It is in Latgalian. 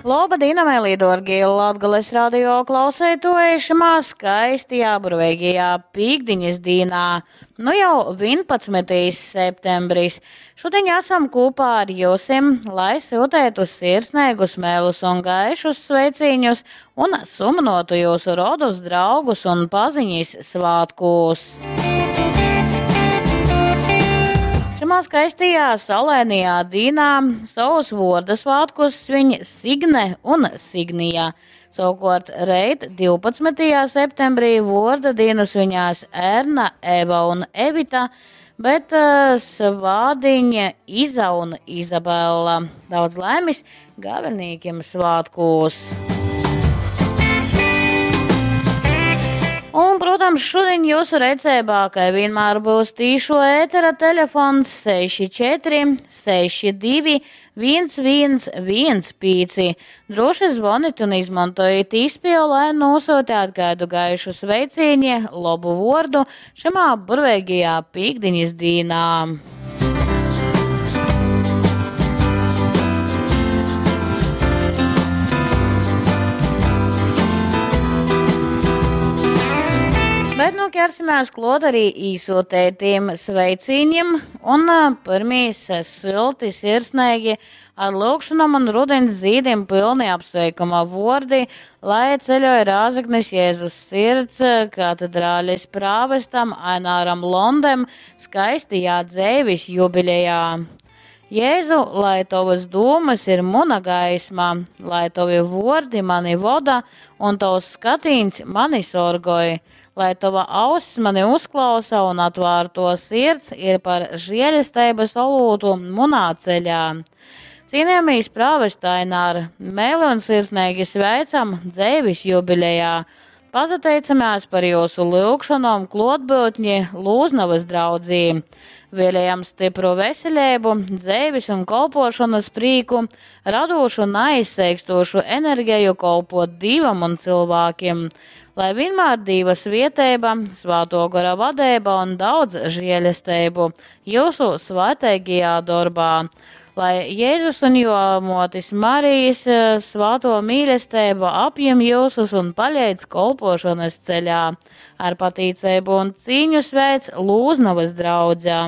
Loba dīna, mēlī dōrgie Latgales radio klausētoji šimā skaistajā burveigajā pīkdiņas dīnā. Nu jau 11. septembris. Šodien esam kopā ar jūsim, lai sūtētu sirsnīgus mēlus un gaišus sveicīņus un sumnotu jūsu rodus, draugus un paziņas svātkūs. Šimā skaistajā saulainajā dīnā savus vorda svātkus sviņ Signe un Signija. Savukārt reit 12. septembrī vorda dienu sviņās Erna, Eva un Evita, bet svādiņa Iza un Izabela. Daudz laimes gavenīkiem svātkūs! Un, protams, šodien jūsu redzībā, kā vienmēr, būs tīšo ētera telefons 64 62 1115. Droši zvoniet un izmantojiet īspēju, lai nosūtāt kādu gaišu sveicīņi, labu vordu šimā burvēgajā pīkdiņas dīnā. Bet nu ķersimies klot arī īsūtētiem sveicīņiem un pirmīs silti sirsnīgi ar lūkšanām un rudens zīdiem pilni apsveikuma vordi, lai ceļoja Rāzaknis Jēzus sirds katedrāles prāvestam Aināram Londem skaistajā dzēvis jubilejā. Jēzu, lai tavas dūmas ir muna gaisma, lai tavi vordi mani voda un tavs skatīns mani sorgoj, lai tava auss mani uzklausa un atvārto sirds ir par žēlestības olūtu munā ceļā. Cienījamīs prāvest Ainār, mēli un sirsnīgi sveicam dzēvis jubilejā. Pazateicamies par jūsu lūgšanom klotbūtņi Lūznavas draudzī. Vēlējam stipru veselību, dzēvis un kolpošanas prīku, radošu un aizseikstošu enerģiju kolpot Dīvam un cilvēkiem. Lai vienmēr Dīva svieteiba, svāto gara vadība un daudz žēlestību jūsu svētīgajā darbā. Lai Jēzus un jo motis Marijas svāto mīlestību apjem jūsus un paļēc kolpošanas ceļā. Ar patīcību un cīņu sveic Lūznavas draudzē.